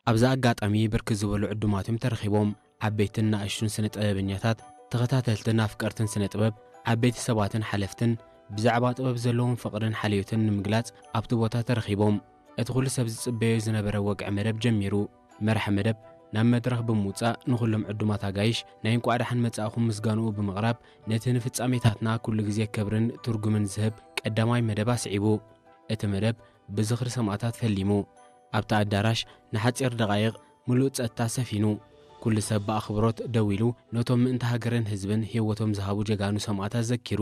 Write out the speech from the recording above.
ኣብዚ ኣጋጣሚ ብርክት ዝበሉ ዕዱማት እዮም ተረኺቦም። ዓበይትን ንኣሽቱን ስነ ጥበበኛታት፣ ተኸታተልትን ኣፍቀርትን ስነ ጥበብ፣ ዓበይቲ ሰባትን ሓለፍትን፣ ብዛዕባ ጥበብ ዘለዎም ፍቕርን ሓልዮትን ንምግላጽ ኣብቲ ቦታ ተረኺቦም። እቲ ኩሉ ሰብ ዝጽበዮ ዝነበረ ወግዒ መደብ ጀሚሩ። መራሒ መደብ ናብ መድረኽ ብምውጻእ ንኹሎም ዕዱማት ኣጋይሽ ናይ እንቋዕ ደሓን መጻእኹም ምስጋንኡ ብምቕራብ፣ ነቲ ንፍጻሜታትና ኩሉ ግዜ ክብርን ትርጉምን ዝህብ ቀዳማይ መደብ ኣስዒቡ። እቲ መደብ ብዝኽሪ ሰማእታት ፈሊሙ። ኣብቲ ኣዳራሽ ንሓጺር ደቓይቕ ምሉእ ጸጥታ ሰፊኑ። ኩሉ ሰብ ብኣኽብሮት ደው ኢሉ ነቶም ምእንቲ ሃገርን ህዝብን ህይወቶም ዝሃቡ ጀጋኑ ሰማእታት ዘኪሩ።